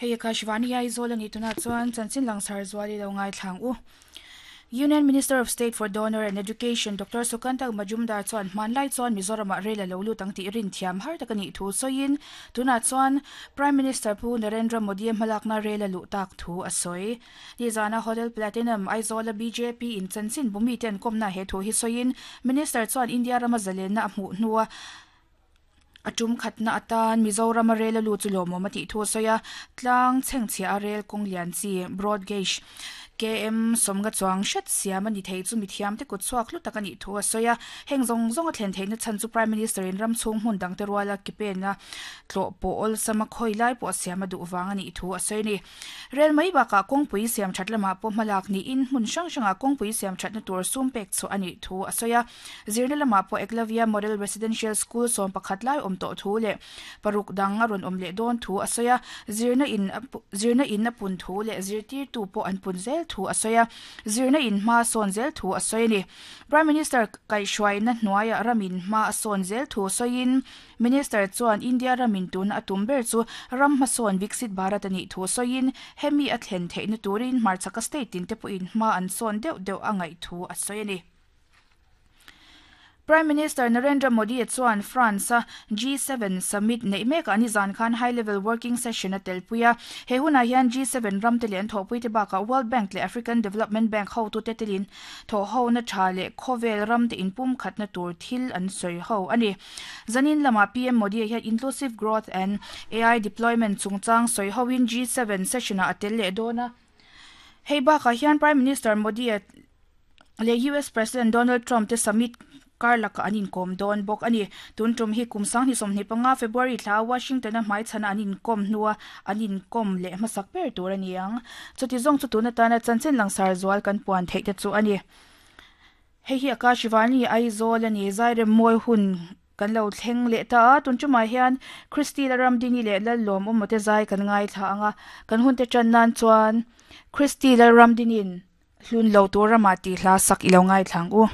Hei Akashvani Aizawl a nih tunah chuan chanchin langsar zual i lo ngaithlang u. Union Minister of State for Donor and Education Doctor Sukanta Majumdar chuan hmanlai chuan Mizoramah rel a lo lut ang tih rin thiam har tak a nih thu sawiin tunah chuan Prime Minister Pu Narendra Modi-a hmalakna rel a luh tak thu a sawi. Nizana Hotel Platinum Aizawla bjp in chanchin bumi te an kawmna he thu hi sawiin Minister chuan India rama zalenna a hmuh hnua a tum khatna atan Mizorama rel a lut chu lawmawm a tih thu a sawi a, tlang chhengchhiah a rel kawng lian chi, broad gauge, KM sawmnga chuang hret siam a ni thei chu mithiam te kut chhuak hlu tak a nih thu a sawi a, heng zawng zawng a thlen theihna chhan chu Prime Minister in ram chhung hmun dangte ruala ke pena tlawh pawh awlsam a khawi lai pawh siam a duh vang a nih thu a sawi a ni. Rel mai bakah kawngpui siam that lamah pawh hmalak niin hmun hrang hrangah kawngpui siam thatna tur sum pek chhuah a nih thu a sawi a. Zirna lamah pawh Eklavya Model Residential School 11 lai awm tawh thu leh paruk dang a rawn awm leh dawn thu a sawi a. Zirna in zirna in a pun thu leh zirtirtu pawh an pun zel thu a sawi a. Zirna in hma a sawn zel thu a sawi a ni. Prime Minister kaihhruaina hnuaiah ramin hma a sawn zel thu sawiin Minister chuan India ramin tuna a tum ber chu ram hmasawn Viksit Bharat a nih thu sawiin hemi a thlen theihna turin hmarchhaka state tin te pawhin hma an sawn deuh deuh a ngaih thu a sawi a ni. Prime Minister Narendra Modi chuan France-a G7 summit neih mekah nizan khan high level working session a telpui a. He hunah hian G7 ramte leh an thawhpuite bakah World Bank leh African Development Bank hotute telin thawhhona tha leh khawvel ramte inpumkhatna tur thil an sawi ho a ni. Zanin lamah PM Modi hian Inclusive Growth and AI Deployment chungchang sawi hoin G7 session-ah a tel leh dawn a. Hei bakah hian Prime Minister Modi leh US President Donald Trump te summit kar lakah an inkawm dawn bawk a ni. Tun tum hi kum 2025 February thla Washington-a hmaichhana an inkawm hnua an inkawm leh hmasak ber tur a ni ang. Chuti zawng chu tun atana chanchin langsar zual kan puan theih te chu a ni. Hei hi Akashvani Aizawl a ni, Zairem mawi hun kan lo thleng leh ta a, tun tumah hian Christy Lalramdini leh Lallawmawma te zai kan ngaithla ang a, kan hun te tan nan chuan Christy Lalramdini'n hlun lo tur ramah tih hla sak i lo ngaithla ang u.